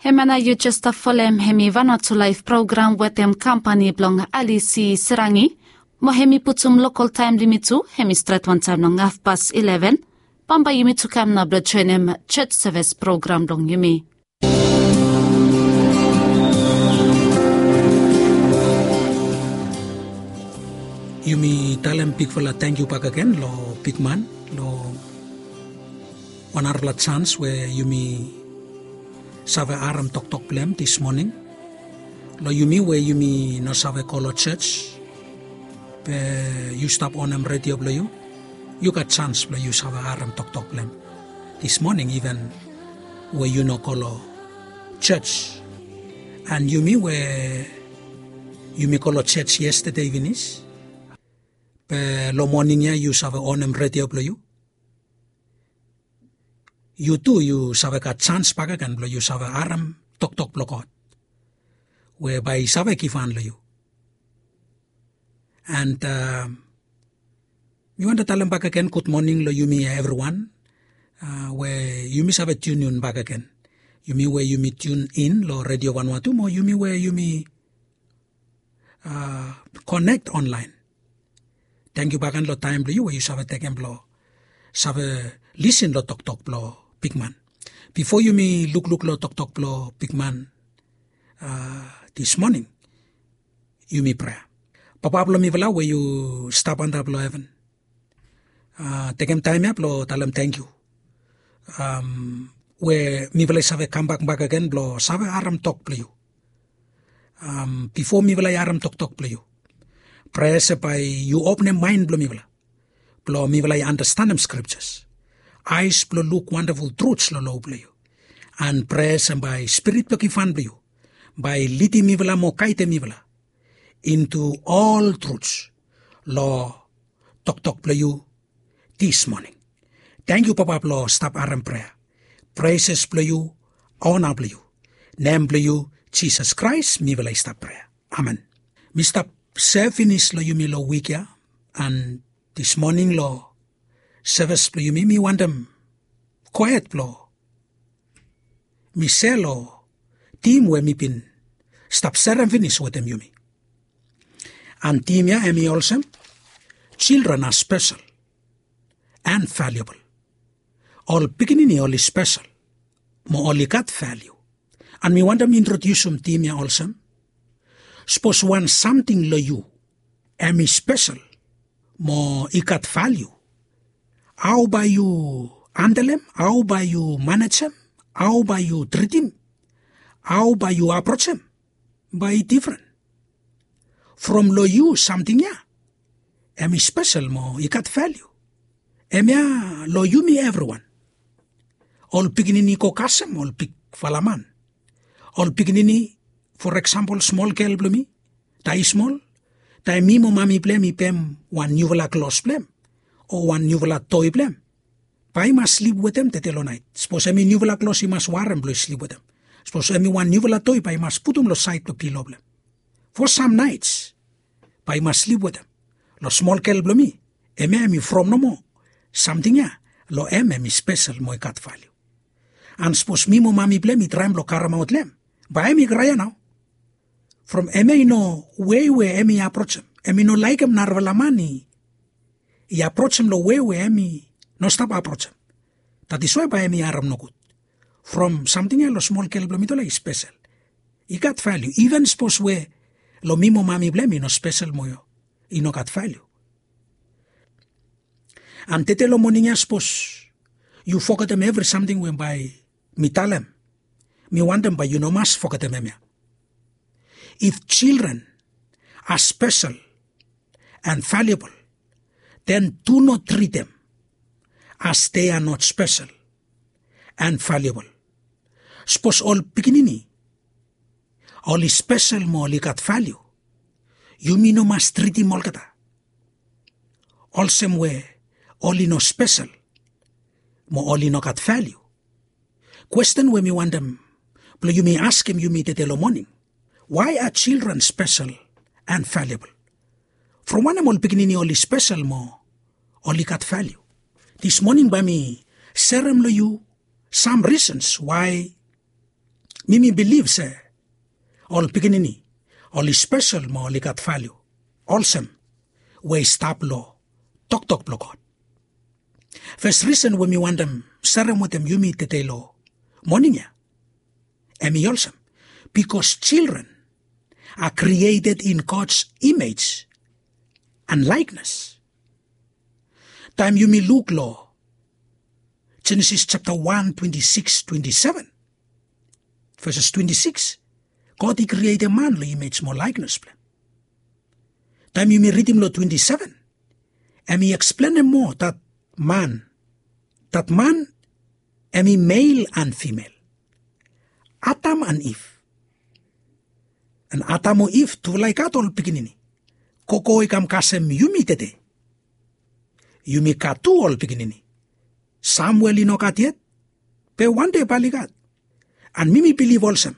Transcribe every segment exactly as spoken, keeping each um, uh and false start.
Hemia nao yu jes stap folem hemi Vanuatu Laef program wetem kampani blong Alisi Serangi. Mo hemi putum lokol taem blong yumi tu, hemi stret wantaem long hafpas ileven. Bambae yumi tu kam nao blong joenem jos seves program blong yumi. Yumi talem bigfala tangkiu bakegen long bigman long wan narafala jans we yumi save harem toktok blong hem dis moning. Long yumi we yumi no save go long jos, be yu stap onem redio blong yu, yu gat jans blong yu save harem toktok blong hem dis moning, iven we yu no go long jos. An yumi we yumi go long jos yestade finis, be long moning ya yu save onem redio blong yu, yu tu yu save gat jans bakegen blong yu save harem toktok blong God we bae i save givhan long yu. An mi wantem talem bakegen gud moning long yumi evriwan we yumi save tiuniun bakegen. Yumi we yumi tiunin long Redio Vanuatu mo yumi we yumi konek onlaen. Tangkiu bakegen long taem blong yu we yu save tekem blong save lisin long toktok blong bigman. Bifo yumi lukluk long toktok blong bigman dis moning, yumi prea. Papa blong mifala we yu stap antap long heven, tekem taem ya blong talem tangkiu we mifala i save kambak bakegen blong save harem tok blong yu. Bifo mifala i harem toktok blong yu, prea se bae yu openem maen blong mifala blong mifala i anastenem skripjas, aes blong luk wandaful truts long loa blong yu. An prea se bae Spirit blong givhan blong yu bae i lidim mifala mo gaedem mifala intu ol truts long toktok blong yu dis moning. Tangkiu Papa blong stap harem prea. Preses blong yu, ona blong yu, nem blong yu Jisas Kraes mifala i stap prea. Amen. Mi stap sev finis long yumi long wik ya, an dis moning long seves blong yumi mi wantem gohed blong mi se long tim we mi bin stap serem finis wetem yumi. An tim ya hemi olsem, children are special and valuable. Ol pikinini oli spesel mo oli gat valiu. An mi wantem introdiusim tim ya olsem, sapos wan samting long yu hemi spesel mo i gat valiu, hao bae yu handlem, hao bae yu manejem, hao bae yu tritim, hao bae yu aprojem, bae i difren from long yu samting ya hemi spesel mo i gat valiu. Hemia long yumi evriwan. Ol pikinini i go kasem ol bigfala man. Ol pikinini, for eksempel, smol gel blong mi, taem i smol, taem mi mo mami blong hem i pem wan niufala klos blong hem o wan niufala toi blong hem, bae i mas slip wetem tede long naet. Sapos hemi niufala klos i mas warem blong i slip wetem. Sapos hemi wan niufala toi bae i mas putum long saed blong pilo blong hem. Fo sam naets bae i mas slip wetem. Long smol gel blong mi, hemia hemi from nomo samting ya long hem hemi spesel mo i gat valiu. An sapos mi mo mami blong hem i traem blong karemaot long hem, bae hemi kraea nao. From hemia i no wei we hemi aprojem, hemi no laekem narafala man i aprojem long wei we hemi no stap aprojem. Datiswae bae hemi harem nogud from samting ya long smol gel blong mitufala i spesel, i gat valiu, iven sapos we long mi mo mami blong hem i no spesel mo i no gat valiu. An tede long moning ya sapos yu fogetem evri samting we bae mi talem, mi wantem bae yu no mas fogetem hemia. If children are special and valuable, then do not treat them as they are not special and valuable. Sapos ol pikinini oli spesel mo oli gat valiu, yumi no mas tritim olgeta olsem we oli no spesel mo oli no gat valiu. Kwesten we mi wantem blong yumi askem yumi tede long moning, why are children special and valuable? From wanem ol pikinini oli spesel mo oli gat valiu? Dis moning bae mi serem long yu sam risens wae Mi mi bilif se ol pikinini oli spesel mo oli gat valiu olsem we i stap long toktok blong God. Fes risen we mi wantem serem wetem yumi tede long moning ya, em i olsem, bikos children are created in God's image and likeness. Taem yumi luk long Jenesis japta wan twenti sikis twenti seven, veses twenti sikis, God i krietem man long imej mo laeknes blong hem. Taem yumi ridim long twenti seven, em i eksplenem moa dat man, dat man em i mel an fimel, Adam an Iv. An Adam o Iv tufala i gat ol pikinini. Gogo i kam kasem yumi tede. Yumi gat tu ol pikinini. Sam we oli no gat yet, be wande bae oli gat. An mi mi bilif olsem,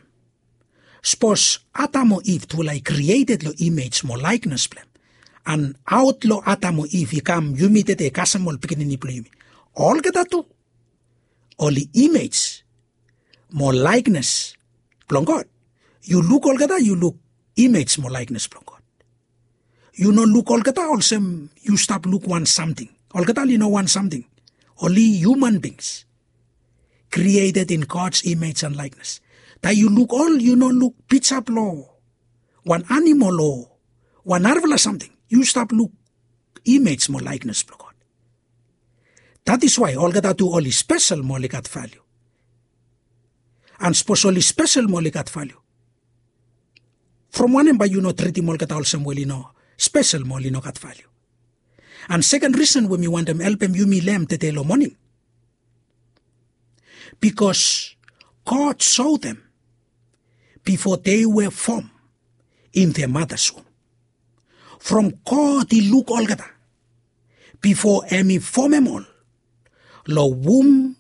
sapos Adam o Iv tufala i krieted long imej mo laeknes blong hem, an aot long Adam o Iv i kam yumi tede kasem ol pikinini blong yumi, olgeta tu oli imej mo laeknes blong God. Yu luk olgeta, yu luk imej mo laeknes blong God. Yu no luk olgeta olsem yu stap luk wan samting. Olgeta oli no wan samting. Oli human beings created in God's image and likeness. Taem yu luk ol, yu no luk pija blong wan animal o wan narafala samting. Yu stap luk imej mo laeknes blong God. That is why olgeta tu oli spesel mo oli gat valiu. An sapos oli spesel mo oli gat valiu, from wanem bae yu no tritim olgeta olsem we oli no spesel mo oli no gat valiu? An seken risen we mi wantem helpem yumi long hem tede long moning, bikos God saw them before they were formed in their mother's womb. From God i luk olgeta bifo hem i fomem ol long wum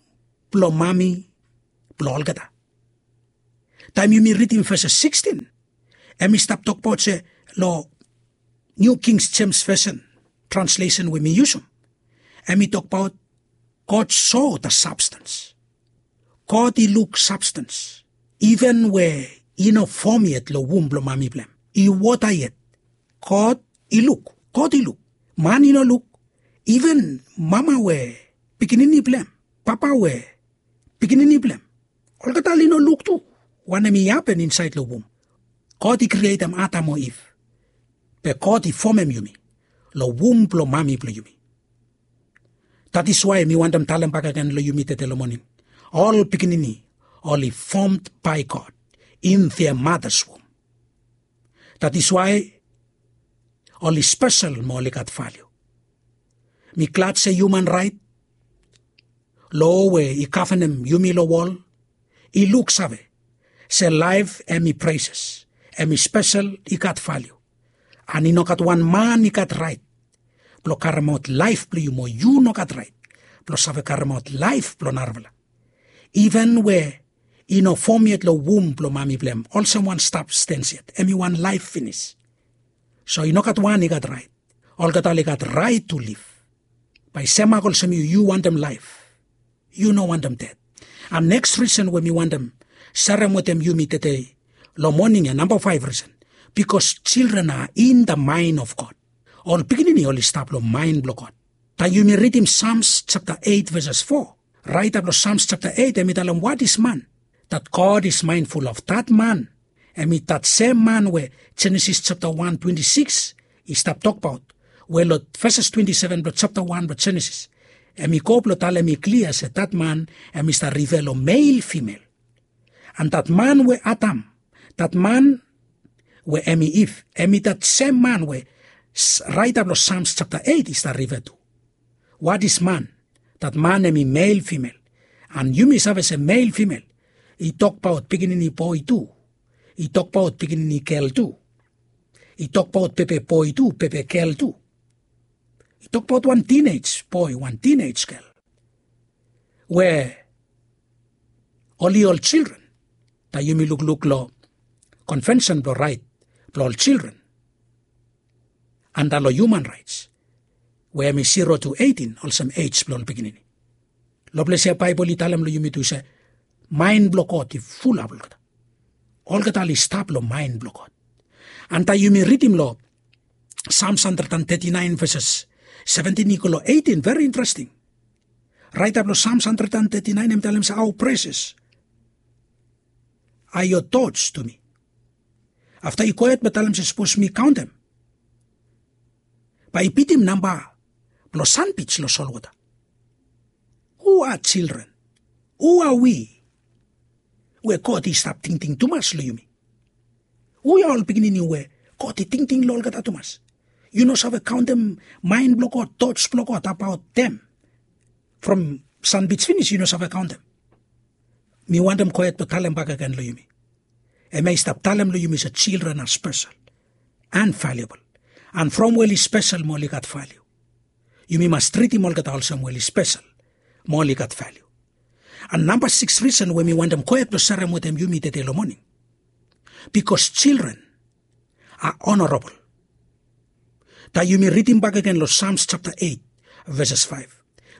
blong mami blong olgeta. Taem yumi ridim ves sikistian, hem i stap tokbaot se long New King James Version translesen we mi yusum, hem i tokbaot God saw the substance. God i luk substance. Iven we i no fom yet long wum blong mami blong hem, i wota yet, God i luk. God i luk. Man i no luk. Iven mama we pikinini blong hem, papa we pikinini blong hem, olgeta oli no luk tu wanem i hapen insaed long wum. God i krietem Adam o Iv, be God i fomem yumi long wum blong mami blong yumi. That is why mi wantem talem bakegen long yumi tede long moning, ol pikinini oli formed by God in their mother's womb. That is why oli spesel mo oli gat valiu. Mi glad se human right loa we i gavenem yumi long wol i luksave se laef hem i precious, hem i spesel, i gat valiu. An i no gat wan man i gat raet blong karemaot laef blong yu, mo yu no gat raet blong save karemaot laef blong narafala. Iven we i no fom yet long wum blong mami blong hem olsem wan sabstens yet, hem i wan laef finis. So i no gat wan i gat raet. Olgeta oli gat raet tu liv. Bae semak olsem yu, yu wantem laef. Yu no wantem ded. An neks risen we mi wantem serem wetem yumi tede long moning ya, namba faef risen, bikos children are in the mind of God. Ol pikinini oli stap long maen blong God. Taem yumi ridim Sams japta eit veses fo, raeta blong Sams japta eit hem i talem, what is man that God is mindful of? Dat man hem i dat sem man we Jenesis japta wan twenti sikis i stap tokbaot, we long veses twenti seven blong japta wan blong Jenesis hem i go blong talem i klia se dat man hem i stap rife long mel fimel. An dat man we Adam, dat man we hem i Iv, hem i dat sem man we raeta blong Sams japta eit i stap rife tu. What is man? Dat man hem i mel fimel. An yumi save se mel fimel i tokbaot pikinini boe tu, i tokbaot pikinini gel tu, i tokbaot pepe boe tu, pepe gel tu, i tokbaot wan tinej boe, wan tinej gel, we oli ol children. Taem yumi lukluk long konvensen blong raet blong ol children anda long human raets, we hem i zero tu eitin olsem ej blong ol pikinini. Long ples ya Baebol i talem long yumi tu se maen blong God i fulap olgeta. Olgeta oli stap long maen blong God. Antaem yumi ridim long Psalms hundred and thirty-nine verses seventeen i go long eighteen, very interesting. Raitap long Psalms hundred and thirty-nine em talem se, "How precious are your thoughts to me." Afta i go hed blong talem se, "Sapos mi kaontem, bae i bitim namba blong sanbij long solwota." Hu are children? Hu are we we God i stap tingting tumas long yumi? Hu ya ol pikinini we God i tingting long olgeta tumas? Yu no save kaontem maen blong God, thoughts blong God abaot dem. From sanbij finis yu no save kaontem. Mi wantem go hed blong talem bakegen long yumi. Hemia i stap talem long yumi se children are special and valuable. And from we oli spesel mo oli gat valiu. Yumi mas tritim olgeta olsem we oli spesel mo oli gat valiu. And namba sikis risen we mi wantem go hed blong serem wetem yumi tede long moning. Bikos children are honorable. Taem yumi ridim bakegen long Psalms chapter eight, verses five,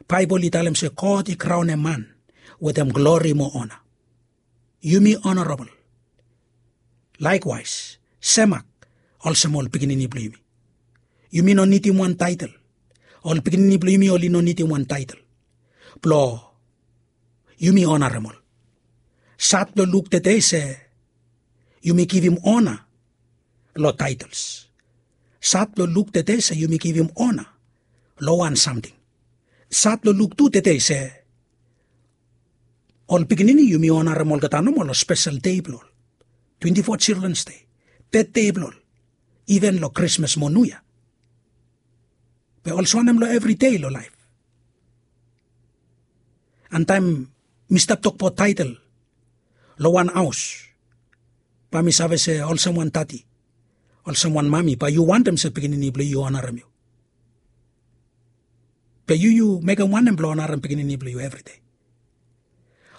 Baebol i talem se God i kraonem man wetem glori mo ona. Yumi honorable. Laekwaes, semak olsem ol pikinini blong yumi. Yumi no nidim wan taetel. Ol pikinini blong yumi oli no nidim wan taetel blong yumi onarem ol. Sad blong luk tede se yumi givim ona long taetels. Sad blong luk tede se yumi givim ona long wan samting. Sad blong luk tu tede se ol pikinini yumi onarem olgeta nomo long spesel dei blong ol, twenti fo Children's Day, betdei blong ol, iven long Krismas mo Niu Yia. Be olsem wanem long evri dei long laef? And taem mi stap tokbaot taetel long wan haos, bae mi save se olsem wan dadi, olsem wan mami, bae yu wantem se pikinini blong yu i onarem yu. Be yu yu mekem wanem blong onarem pikinini blong yu evri dei?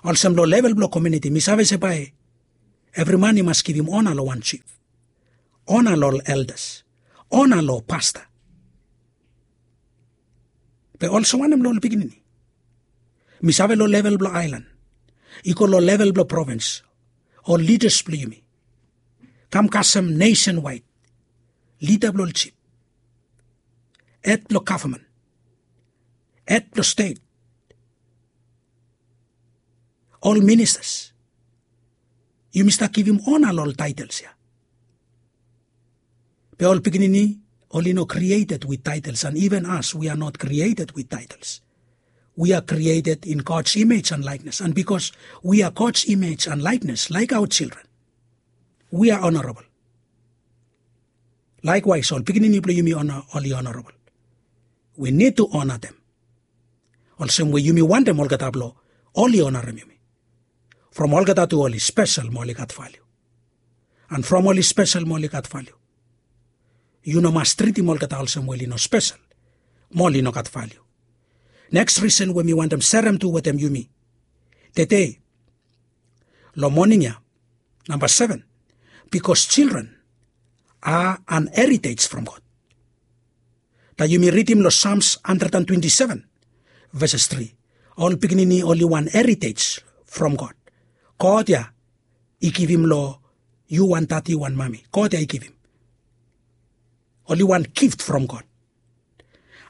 Olsem long level blong komuniti mi save se bae evri man i mas givim ona long wan jif, ona long ol eldas, ona long pasta. Be olsem wanem long ol pikinini? Mi save long level blong aelan, i go long level blong provins, ol lidas blong yumi kam kasem nesenwaed, lida blong ol jif, hed blong gavman, hed blong stet, ol ministas. Yumi stap givim ona long ol taetels ya. Be ol pikinini oli no created with titles, and even us, we are not created with titles. We are created in God's image and likeness. And because we are God's image and likeness, like our children, we are honorable. Laekwaes, ol pikinini blong yumi oli honorable. We need to honor them. Olsem we yumi wantem olgeta blong oli onarem yumi. From olgeta tu oli spesel mo oli gat valiu. And from oli spesel mo oli gat valiu, yu no mas tritim olgeta olsem we oli no spesel mo oli no gat valiu. Neks risen we mi wantem serem tu wetem yumi tede long moning ya, namba seven, bikos children are an heritage from God. Taem yumi ridim long Psalms hundred and twenty-seven, verses three, ol pikinini oli wan heritage from God. God ya i givim long yu wan dadi, wan mami. God ya i givim. Oli wan gift from God.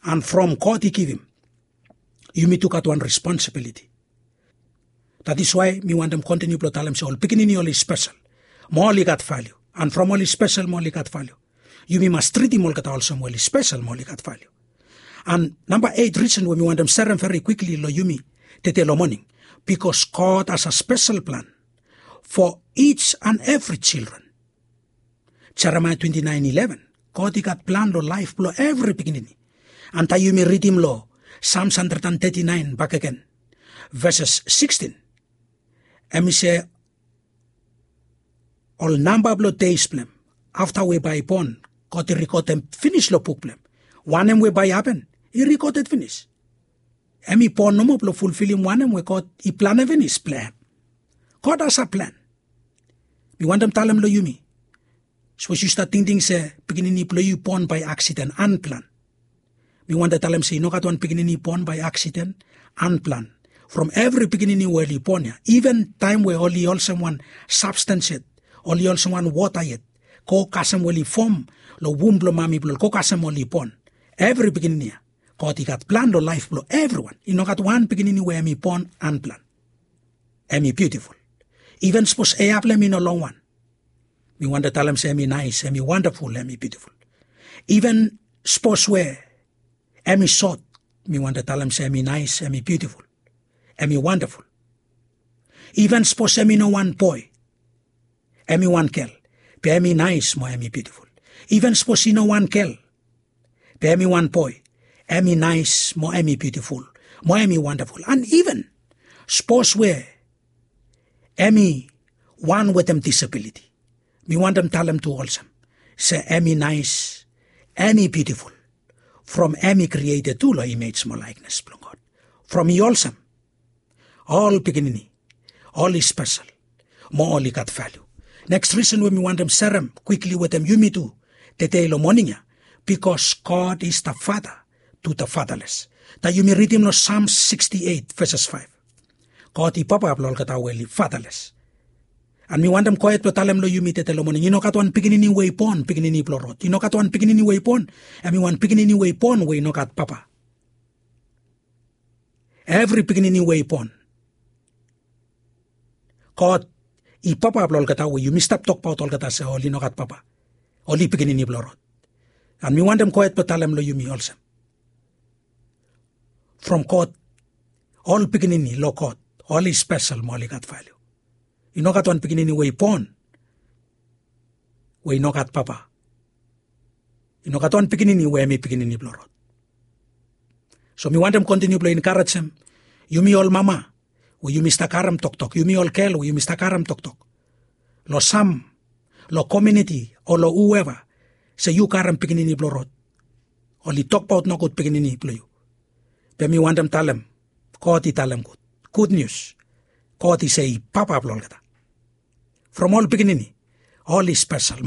And from God i givim, yumi tu gat wan responsibiliti. That is why mi wantem kontiniu blong talem se ol pikinini oli spesel mo oli gat valiu. And from oli spesel mo oli gat valiu, yumi mas tritim olgeta olsem we oli spesel mo oli gat valiu. And namba eit risen we mi wantem serem veri kwikli long yumi tede long moning, bikos God has a special plan for each and every children. Jeremaia twenty-nine eleven, God i gat plan long laef blong evri pikinini. And taem yumi ridim long Psalms hundred and thirty-nine bakegen, verses sixteen, hemi se ol namba blong deis blong hem afta we bae i bon, God i rikodem finis long buk blong hem. Wanem we bae i hapen i rikoded finis. Hemi bon nomo blong fulfilim wanem we God i planem finis blong hem. God has a plan. Mi wantem talem long yumi, sapos yu stap tingting se pikinini blong yu i bon bae aksiden, anplan, mi wantem talem se i no gat wan pikinini i bon bae aksiden, anplan. From evri pikinini we oli bon ya, iven taem we oli olsem wan substance yet, oli olsem wan wota yet, go kasem we oli fom long wum blong mami blong oli, go kasem oli bon. Evri pikinini ya, God i gat plan long laef blong evriwan. I no gat wan pikinini we hem i bon anplan. Hem i biutiful. Iven sapos eya blong hem i no longwan, mi wantem talem se hem i naes, hem i wandaful, hem i biutiful. Iven sapos we hem i sot, mi wantem talem se hem i naes, hem i biutiful, hem i wandaful. Iven sapos hem i no wan boe, hem i wan gel, be hem i naes mo hem i biutiful. Iven sapos i no wan gel, be hem i wan boe, hem i naes mo hem i biutiful, mo hem i wandaful. An iven sapos we hem i wan wetem disabiliti, mi wantem talem tu olsem se hem i naes, hem i biutiful, from hem i krieted tu long imej mo laeknes blong God. From i olsem, ol pikinini, oli spesel, mo oli gat valiu. Neks risen we mi wantem serem kwikli wetem yumi tu tedei long moning ya, because God is the Father to the fatherless. Taem yumi ridim long Psalm sixty-eight verses five, God i papa blong olgeta we oli fatherless. An mi wantem gohed blong talem long yumi tedei long moning, i no gat wan pikinini we i bon pikinini blong rod. I no gat wan pikinini we i bon hem i wan pikinini we i bon we i no gat papa. Evri pikinini we i bon, God i papa blong olgeta we yumi stap tokbaot olgeta se oli no gat papa, oli pikinini blong rod. An mi wantem gohed blong talem long yumi olsem, from God, ol pikinini long God, oli spesel mo oli gat valiu. I no gat wan pikinini we i bon we i no gat papa. I no gat wan pikinini we hem i pikinini blong rod. So mi wantem kontiniu blong enkarejem yumi ol mama we yumi stap harem toktok, yumi ol gel we yumi stap harem toktok long sam, long komuniti o long hueva, se yu harem pikinini blong rod, oli tokbaot nogud pikinini blong yu. Be mi wantem talem, God i talem gud, gud nius. God i se i papa blong olgeta. From ol pikinini, oli spesel.